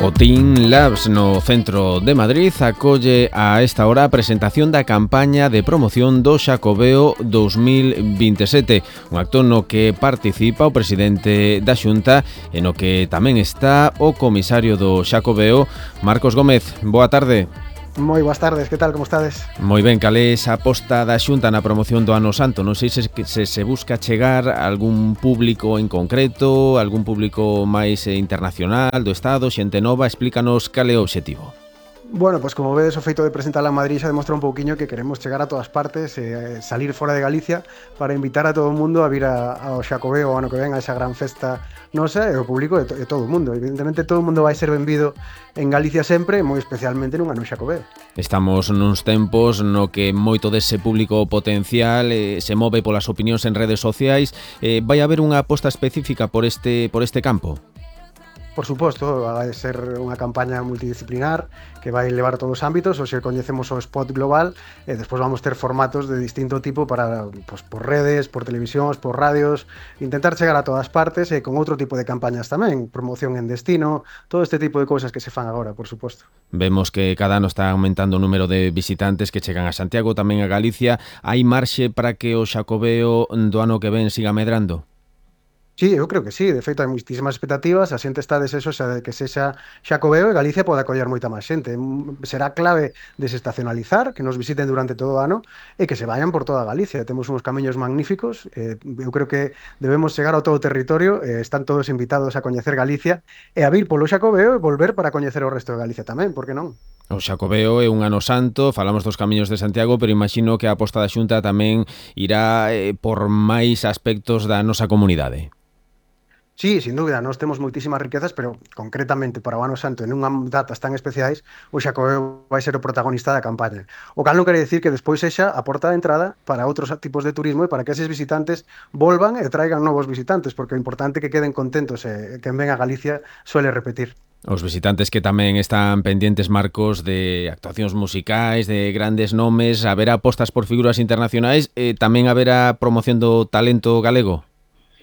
O Team Labs no centro de Madrid acolle a esta hora a presentación da campaña de promoción do Xacobeo 2027, un acto no que participa o presidente da Xunta e no que tamén está o comisario do Xacobeo, Marcos Gómez. Boa tarde. Moi boas tardes, que tal, como estades? Moi ben, cal é esa aposta da Xunta na promoción do Ano Santo? Non sei se busca chegar a algún público en concreto, algún público máis internacional do Estado, xente nova, explícanos cal é o obxectivo. Bueno, pues como vedes, o feito de presentala en Madrid xa demostra un pouquiño que queremos chegar a todas partes, salir fora de Galicia para invitar a todo o mundo a vir ao Xacobeo o ano que ven, a esa gran festa nosa e o público de todo o mundo. Evidentemente todo o mundo vai ser benvido en Galicia sempre, moi especialmente nun ano Xacobeo. Estamos nuns tempos no que moito dese público potencial se move polas opinións en redes sociais. Vai haber unha aposta específica por este campo? Por suposto, vai ser unha campaña multidisciplinar que vai levar a todos os ámbitos. Hoxe coñecemos o spot global e despois vamos ter formatos de distinto tipo para, pues, por redes, por televisións, por radios, intentar chegar a todas partes e con outro tipo de campañas tamén, promoción en destino, todo este tipo de cousas que se fan agora, por suposto. Vemos que cada ano está aumentando o número de visitantes que chegan a Santiago, tamén a Galicia. Hai marxe para que o Xacobeo do ano que ven siga medrando? Sí, eu creo que sí, de feito hai moitísimas expectativas, a xente está deseosa de que sexa Xacobeo e Galicia pode acoller moita máis xente. Será clave desestacionalizar, que nos visiten durante todo o ano e que se vayan por toda Galicia. Temos uns camiños magníficos, eu creo que debemos chegar ao todo o territorio, están todos invitados a coñecer Galicia e a vir polo Xacobeo e volver para coñecer o resto de Galicia tamén, por que non? O Xacobeo é un ano santo, falamos dos camiños de Santiago, pero imagino que a aposta da Xunta tamén irá por máis aspectos da nosa comunidade. Sí, sin dúbida, nós temos moitísimas riquezas, pero concretamente para o Ano Santo, en unhas datas tan especiais, o Xacobeo vai ser o protagonista da campaña. O cal non quere dicir que despois sexa a porta de entrada para outros tipos de turismo e para que eses visitantes volvan e traigan novos visitantes, porque o importante é que queden contentos e quen ven a Galicia suele repetir. Os visitantes que tamén están pendientes, Marcos, de actuacións musicais, de grandes nomes, haberá apostas por figuras internacionais e tamén haberá promoción do talento galego?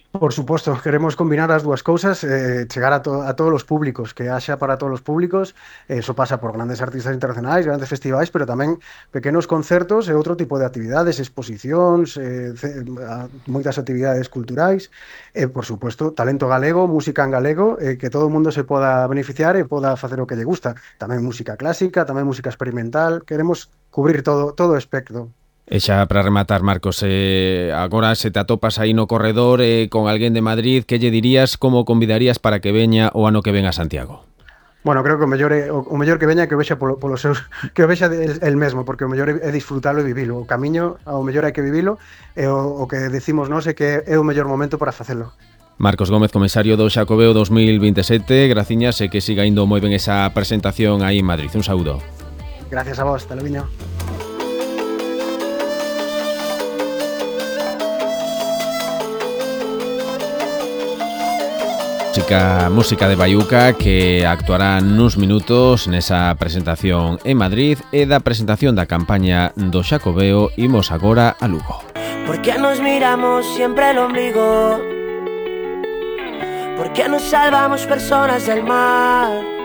Por suposto, queremos combinar as dúas cousas, chegar a todos os públicos, que haxa para todos os públicos. Eso pasa por grandes artistas internacionais, grandes festivais, pero tamén pequenos concertos e outro tipo de actividades, exposicións, moitas actividades culturais, e, por suposto, talento galego, música en galego, que todo o mundo se poda beneficiar e poda facer o que lle gusta. Tamén música clásica, tamén música experimental, queremos cubrir todo o espectro. E xa para rematar, Marcos, agora se te atopas aí no corredor con alguén de Madrid, que lle dirías, como convidarías para que veña o ano que ven a Santiago? Bueno, creo que o mellor que veña que o vexa polos seus, que o vexa el mesmo, porque o mellor é disfrutalo e vivilo. O camiño ao mellor hai que vivilo e o que decimos nós é que é o mellor momento para facelo. Marcos Gómez, comisario do Xacobeo 2027, graciñas e que siga indo moi ben esa presentación aí en Madrid. Un saúdo. Gracias a vos, Televiño. Música de Baiuca, que actuará nuns minutos nesa presentación en Madrid e da presentación da campaña do Xacobeo. Imos agora a Lugo. ¿Por qué nos miramos siempre el ombligo? ¿Por qué nos salvamos personas del mar?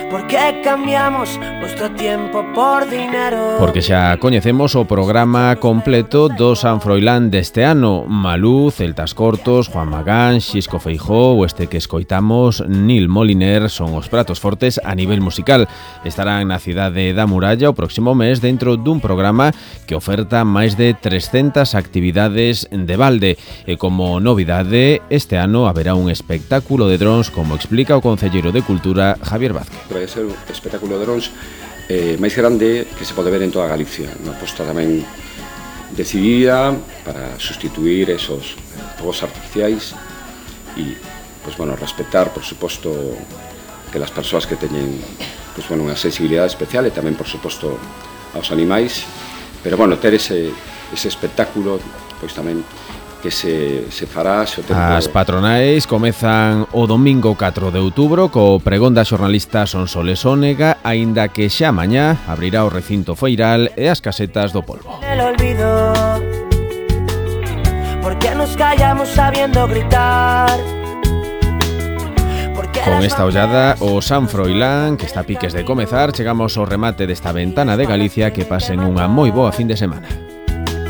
¿Por qué cambiamos nuestro tiempo por dinero? Porque xa coñecemos o programa completo do San Froilán deste ano. Malú, Celtas Cortos, Juan Magán, Xisco Feijó ou este que escoitamos, Nil Moliner, son os pratos fortes a nivel musical. Estarán na cidade da Muralla o próximo mes dentro dun programa que oferta máis de 300 actividades de balde. E como novidade, este ano haberá un espectáculo de drons, como explica o concelleiro de Cultura, Javier Vázquez. Vai ser un espectáculo de drons máis grande que se pode ver en toda Galicia, unha aposta tamén decidida para sustituir esos fogos artificiais e, pues, bueno, respetar, por suposto, que as persoas que teñen, pues, bueno, unha sensibilidade especial e tamén, por suposto, aos animais, pero, bueno, ter ese espectáculo, pois tamén que se fará o tempo. As patronais comezan o domingo 4 de outubro co pregón da xornalista Sonsoles Ónega, aínda que xa mañá abrirá o recinto feiral e as casetas do polvo. El olvido, ¿por qué nos callamos sabiendo gritar? Con esta ollada o San Froilán, que está a piques de comezar, chegamos ao remate desta ventana de Galicia. Que pasen unha moi boa fin de semana.